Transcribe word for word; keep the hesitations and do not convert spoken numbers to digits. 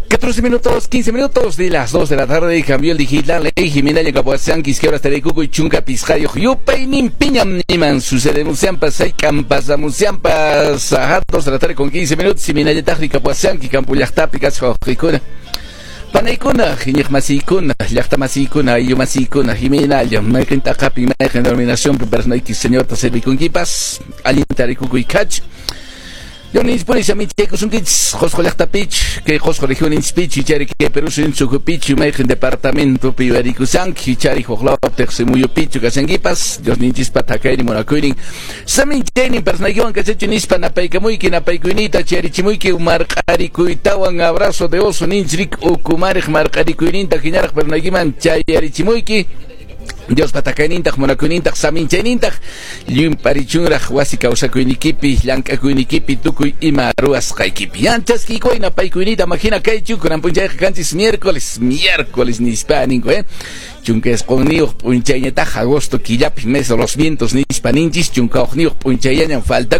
catorce minutos, quince minutos de las dos de la tarde, cambió el digital, eh, Jimena Yacapuasanquis, que ahora estaré cuco y chunca pisjayo, yupaynin piñam niman, sucede musiampas, hay campas, musiampas, ajá, dos de la tarde con quince minutos, Jimena Yatajri Capuasanqui, Campo Llaqtapi, Kasjo, Panaykuna, iñiqmasiykuna, llaqtamasiykuna, ayllumasikuna, Jimena, mayqin t'aqapi, mayqin denominación, personayki Señorta servikunkipas, allinta rikukuy kach. Yonis samichaykusunkichis Qosqo llaqtapich, kay Qosqo regioninchpich, ichari kay Perú suyunchukupich, mayqin departamentopi yuyarikusanki, ichari huq tiqsimuyupichu kashankipas, Diosninchispa thakaynin munakuynin, saminchaynin personaykiwan kachachu nispa napaykamuyki, napaykuyniyta chayarichimuyki marq'arikuytawan abrazo de oso ninchrik ukumariq marq'arikuyninta hinaraq personaykiman chayarichimuyki. Dios patakaynintaq munakuynintaq saminchaynintaq llumparichunraq wasi kawsakuynikipi llank'akuynikipi tukuy ima ruwasqaykipi yanchaskiykuy napaykuynita mahina kaychu kunan p'unchayqa kanchis miércoles miércoles nispa ninku eh chunka isqunniyuq p'unchayñataq agosto killapi mes de los vientos nispa ninchis chunka hukniyuq p'unchayllañan falta.